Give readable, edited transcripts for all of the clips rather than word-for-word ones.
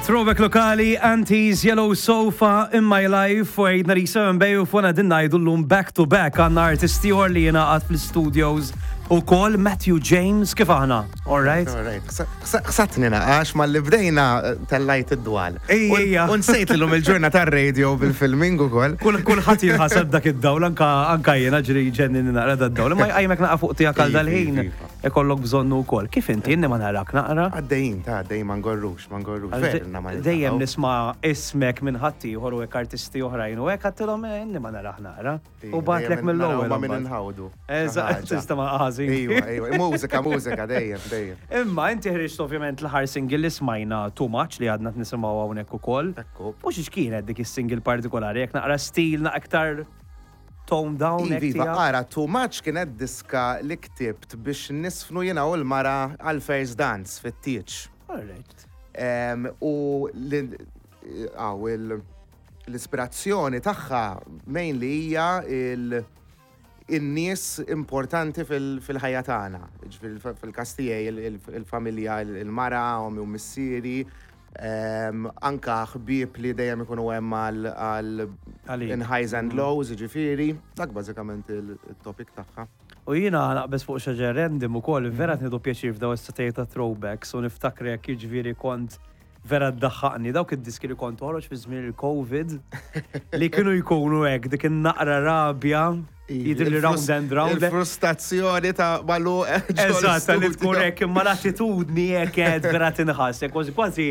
Throwback lokali, Antis, Yellow Sofa, In My Life, u għidna li 7 Bay u fona din ngħidu llum back to back għandna artisti ieħor li jingħaqad fl-studios ukoll Matthew James, kif aħna? All right? All right. Ħsatni naqax malli bdejna eh, tellajt id-dwal. Ejja. U nsejt l-lum il-ġurnata tar-radio bil-filming ukoll. Kulħadd jinħaseb dak id-dawl anka anka jiena ġri ġennin naqra dad-dawl. Imma jqajmek naqa' fuq tiegħek għal dal-ħin ikollok bżonnu wkoll. Kif inti inni ma narak naqra? Għaddejjin ta' għaddejjin ma ngorrux, ma ngorrux. Verna ma Dejjem nisma' ismek minn ħaddieħor u hekk artisti oħrajn u hekk għattilhom eh, inni ma narah naqra. U batlek mill-ewwel. Ma minn inħawdu. Eżatt, tista' ma ħażin. Ejwa, ejwa, mużika, mużika, dejjem, dejjem. Imma inti ħriġt ovvjament l-aħħar single li smajna Too Much li għadna nisimgħu hawnhekk ukoll. Ekku. U xiex kienet dik is-single partikolari, jekk naqra stil, naqra iktar tone down. Iva, iva, ara, Too Much kienet diska li ktibt biex nisfnu jiena u l-mara għal first dance fit-tieġ. All right. U għaw il- L-ispirazzjoni tagħha mainly hija in-nies importanti fil-ħajja tagħna. Ġifieri fil-każ tiegħi il-familja, il-mara, ommi u missieri, anka ħbieb li dejjem ikunu hemm għal in highs and lows, ġifieri, dak bażikament il-topic tagħha. U jiena naqbeż fuq xi ħaġa random ukoll, vera qed nieħdu pjaċir f'daw is-setgħiet ta' throwbacks u niftakrek jiġifieri kont vera ddaħħaqni dawk id-diski li kont toħroġ fi żmien il-Covid li kienu jkunu hekk dik in-naqra rabja jidher li round and round. Il-frustrazzjoni ta' malu. Eżatt, li tkun hekk imma l-attitudni hekk qed vera tinħass, kważi kważi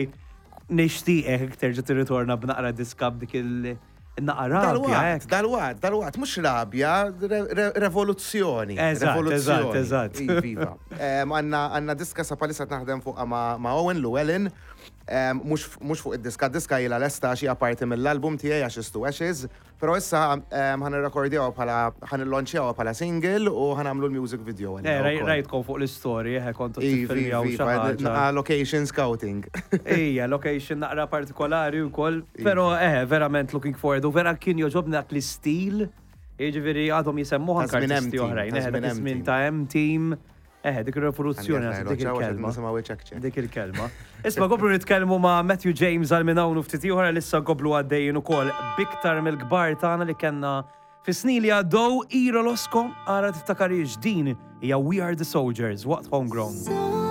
nixtieqek terġa' tirritorna b'naqra diska b'dik il- Naqa rabja. Dalwaqt, dalwaqt, dalwaqt, mhux rabja, revoluzzjoni. Eżatt, eżatt, eżatt. Iva. Għandna diska sa palissa naħdem fuqha ma' Owen Llewellyn, mhux fuq id-diska, diska ilha lesta għax hija parti mill-album tiegħi Ashes to Ashes, però issa ħa nirrekordjawha bħala, ħa nillonċjawha bħala single u ħa nagħmlu l-music video għaliha. Eh, rajtkom fuq l-istorji, eh, kontu tiffilmjaw xi ħaġa. Location scouting. Ija, location naqra partikolari wkoll, però eh, verament looking forward u vera kien jogħġobni dak l-istil, jiġifieri għadhom jisemmuh anke artisti oħrajn, eh, dak iż-żmien ta' M-Team. Eh, dik ir-rivoluzzjoni naħseb dik il-kelma. Dik il-kelma. Isma' komplu nitkellmu ma' Matthew James għal minn hawn u ftit ieħor għal issa nkomplu għaddejjin ukoll b'iktar mill-kbar tagħna li kellna fis-snin li għaddew Ira Losco ara tiftakarhiex din hija We Are The Soldiers waqt Homegrown.